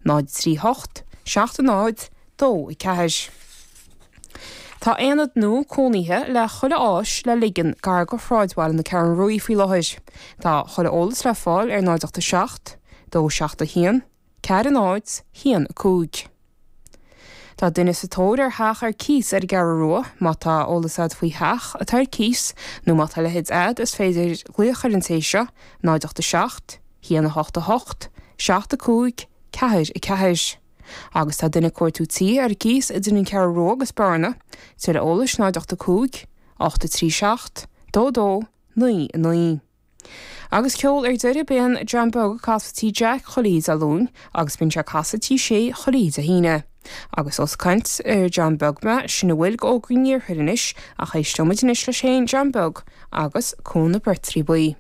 0 3 8 7 0 2 4. Tá aonad nua cónaithe le chuile áis le ligean gar go shráidbhaile na Ceathrún Ruaidh faoi láthair. Tá chuile eolas le fáil ar 0 8 7 2 7 1 4 0 1 5. Tá duine sa tóir ar theach ar cíos ar an gCeathrú Rua. Má tá eolas a'd faoi theach atá ar cíos nó má tá a leithéid a'd is féidir glaoch ar an té seo, 0 8 7 1 8 8 7 5 4 4. Agus tá duine ag cuartú tí ar cíos idir an Cheathrú Rua agus Bearna. Tuilleadh eolais 0 8 5 8 3 7 2 2 9 9. Agus ceol ar deireadh, bíonn John Beag ag casadh Tí Jack chuile oíche Dé Luain agus bíonn sé ag casadh Tí Sé chuile oíche Dé hAoine. Agus ós ag caint ar John Beag mé, sin a bhfuil d'Fhógra an Iarthair anois ach éisteoimid anois leis féin, John Beag, agus Cuan na Beirtrí Buí.